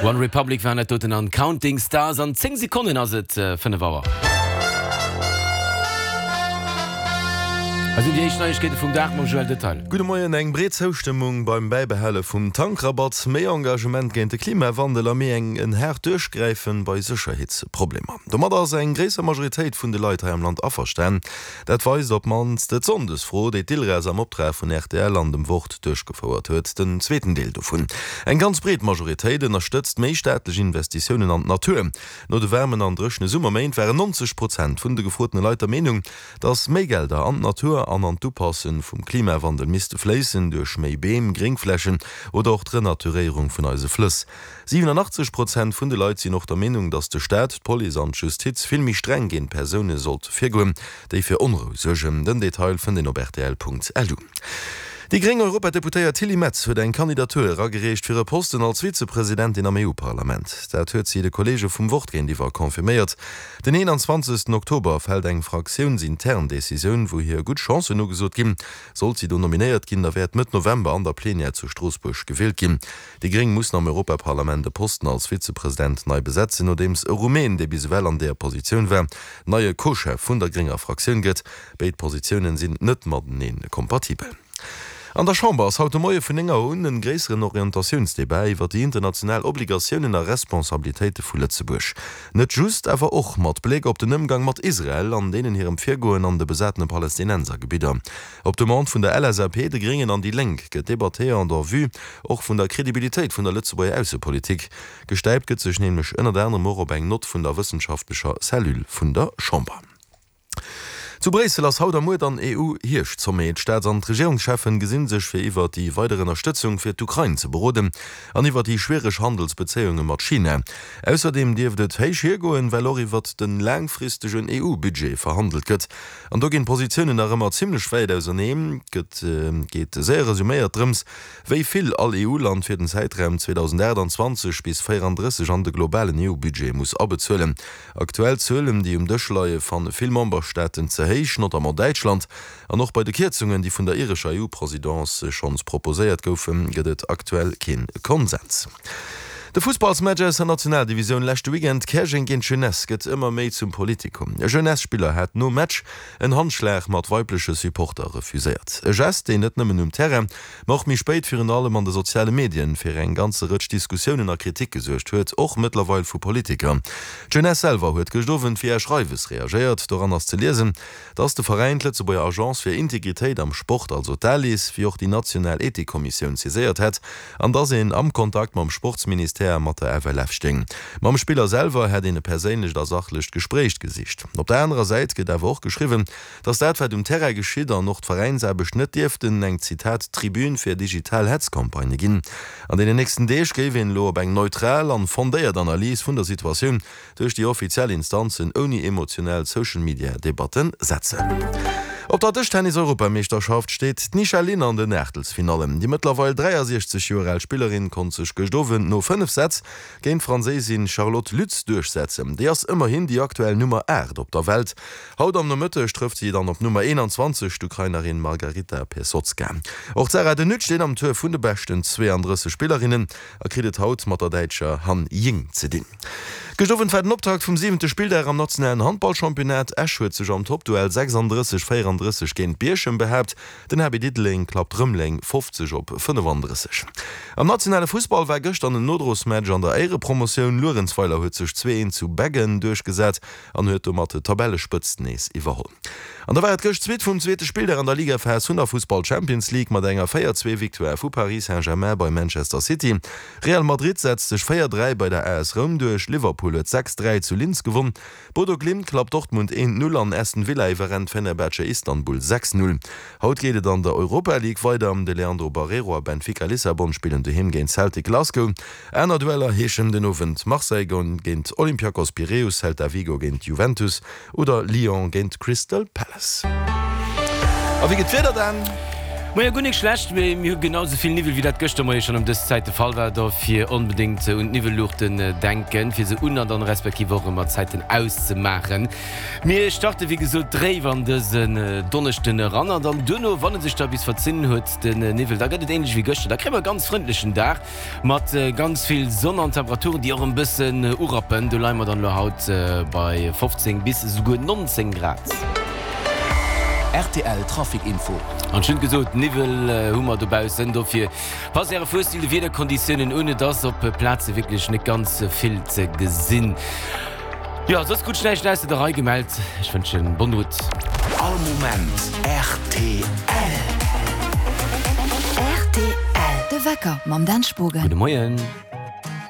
One Republic waren dat doten an Counting Stars. An 10 Sekonnen ass et 5 Auer. Hei sinn déi éischt Neiegkeete vum Dag mam Joël Detaille. Gudde Moien. Eng breet Zoustëmmung beim Bäibehale vum Tankrabatt, méi Engagement géint de Klimawandel a méi eng en haart Duerchgräifen bei Sécherheetsproblemer. Domadder ass eng gréisser Majoritéit vun de Leit hei am Land averstan. Dat weist op d'mannst d'Sonndesfro, déi d'ILRAS am Optrag vun rtl an dem Wort duerchgefouert huet. Den zweeten Deel dovun, Eng ganz breet Majoritéit ënnerstëtzt méi staatlech Investitiounen an d'Natur. No de waarmen an dréchene Summerméint waren 90 Prozent vun de gefrotene Leit der Meenung, datt méi Gelder an d'Natur an an d'Upasse vum Klimawandel misste fléissen, duerch méi Beem, Gréngflächen oder och d'Renaturéierung vun eise Flëss. 87 Prozent vun de Leit sinn och der Meenung, datt de Staat, d'Police an d'Justiz vill méi streng géint Persoune sollt virgoen, déi fir Onrou suergen. Den Detail fënnt een op rtl.lu. Déi gréng Europadeputéiert Tilly Metz huet eng Kandidatur eragereecht fir e Posten als Vizepresidentin am EU-Parlament. Dat huet si de Kolleege vum Wort géintiwwer confirméiert. Den 21 Oktober fält eng fraktiounsintern Decisioun, wou hir gutt Chancen ugesot ginn. Sollt si do nominéiert ginn, da wäert Mëtt November an der Plenière zu Stroossbuerg gewielt ginn. Déi Gréng mussen am Europaparlament e Posten als Vizepresident nei besetzen, nodeems e Rumän, dee bis ewell an deeër Positioun war, neie Co-Chef vun der grénger Fraktioun gëtt. Béid Positiounen sinn net matenee kompatibel. An der Chamber ass haut de Moie vun 9 Auer un en gréisseren Orientatiounsdebat iwwer déi international Obligatiounen a Responsabilitéite vu Lëtzebuerg. Net just, awer och mat Bléck op den Ëmgang mat Israel an deenen hirem Virgoen an de besatene Palästinensergebidder. Op Demande vun der LSAP, de Gréngen an déi Lénk gëtt debattéiert en vue och vun der Kredibilitéit vun der Lëtzebuerger Aussepolitik. Gestäipt gëtt sech nämlech ënnert anerem och op eng Nott vun der wëssenschaftlecher Cellule vun der Chamber. Zu Bréissel ass haut a muer dann EU-Hierscht-Sommet. D'Staats an d'Regierungscheffen gesinn sech fir iwwer déi weider Ënnerstëtzung fir d'Ukrain ze beroden an iwwer déi schwiereg Handelsbezéiunge mat China. Ausserdeem dierft et héich hiergoen, well och iwwert de laangfristegen EU-Budget verhandelt gëtt. An do ginn d'Positiounen nach ëmmer zimlech wäit auserneen. Gëtt geet séier resuméiert drëms, wéi vill all EU-Land fir den Zäitraum 2028 bis 34 an de globalen EU-Budget muss abezuelen. Aktuell Zuelen, déi um Dësch leie, fanne vill Memberstaaten ze héich, notamment Däitschland. An och bei de Kierzungen, déi vun der irescher EU-Presidence schonns proposéiert goufen, gëtt et aktuell kee Konsens. De Fussballsmatch aus der Nationaldivisioun leschte Weekend, Käerjeng géint Jeunesse, gëtt ëmmer méi zum Politikum. E Jeunesse-Spiller hat nom Match en Handschlag mat weibleche Supporter refuséiert. E Gest, deen net nëmmen um Terrain, ma och méi spéit virun allem an de soziale Medien fir eng ganze Rëtsch Diskussiounen a Kritik gesuergt huet, och mëttlerweil vu Politiker. D'Jeunesse selwer huet gëscht Owend via Schreiwes reagéiert. Doran ass ze liesen, dass de Veräin d'Lëtzebuerger Agence fir Integritéit am Sport, also d'ALIS, wéi och déi national Ethikkommissioun saiséiert hätt an dass een am Kontakt mam Sportsministère a mat der FLF stéing. Mam Spiller selwer hätt een e perséinlecht a sachlecht Gespréich gesicht. Op der anerer Säit gëtt awer och geschriwwen, dass dat wat um Terrain geschitt an och d'Veräinsaarbecht net dierften eng, Zitat, Tribün fir digital Hetzcampagnë ginn. An deenen nächsten Deeg géif een elo op eng neutral an fondéiert Analys vun der Situatioun duerch déi offiziell Instanzen ouni emotionell Social-Media-Debatten setzen. Op der Dëschtennis-Europameeschterschaft steet d'Nisha Lin an den Aachtelsfinallen. Déi mëttlerweil 63 Joer al Spillerin konnt sech gëscht Owend no 5 Sätz géint d'Franséisin Charlotte Lutz duerchsetzen. Déi ass ëmmerhin déi aktuell Nummer 8 op der Welt. Haut am Nomëtteg trëfft si dann op Nummer 21, d'Ukrainerin Margaryta Pesotska. Och d'Sarah De Nutte steet am Tour vun de beschten 32 Spillerinnen a kritt et haut mat der Däitscher Han Ying ze dinn. Gëscht Owend war den Optakt vum siwente Spilldag am nationalen Handballchampionnat. Esch huet sech am Toppduell 36, 34 géint Bierchem behaapt. Den HB Diddeleng klappt Rëmeleng 50 op 35. Am nationale Fussball war gëschter en Nodrosmatch an der Éierepromotioun. Luerenzweiler huet sech 2, 1 zu Beggen duerchgesat an huet domat d'Tabellespëtzt nees iwwerholl. An da war et gëscht d'Suite vum zweete Spilldag an der Ligaphas vun der Fussball Champions League mat enger 4, 2 Victoire vu Paris Saint-Germain bei Manchester City. Real Madrid setzt sech 4, 3 bei der AS Roum duerch, Liverpool huet 6, 3 zu Linz gewonn, Bodo Glimt klappt Dortmund 1, 0 an Aston Villa iwwerrennt Fenerbahce Istanbul 6, 0. Haut geet et an der Europa League weider, de Leandro Barreiro a Benfica Lissabon spillen doheem géint Celtic Glasgow. Aner Dueller heeschen den Owend Marseille géint Olympiakos Piräus, Celta Vigo géint Juventus oder Lyon géint Crystal Palace. A wéi gëtt d'Wieder dann? Moie, guer nik schlecht, mee mir hu genau sou vill Niwwel wéi dat gëschter Moie schonn ëm dës Zäit de Fall war. Dofir onbedéngt un d'Niwwelluuchten denken, fir se un an dann respektiv och erëm mat Zäiten auszemaachen. Mir starte wéi gesot dréif an dësen Donneschden eran an dann duerno, wann e sech da bis verzinn huet, den Niwwel, da gëtt et änlech wéi gëschter. Da kréie mer e ganz frëndlechen Dag mat ganz vill Sonn an Temperaturen, déi och e bëssen urappen. Do leie mer dann elo haut bei 15 bis esouguer 19 Grad. Rtl Trafic Info. An ech hunn gesot, Niwwel hu mer dobaussen, dofir passt Äre Fuerstil de Wiederkonditiounen un. Et ass op Plaze wierklech net ganz vill ze gesinn. Jo, soss krut ech näischt ausser der Rei gemellt. Ech wënschen bonne route. All Moment rtl. Rtl, De Wecker mam Dan Spogen. Gudde Moien.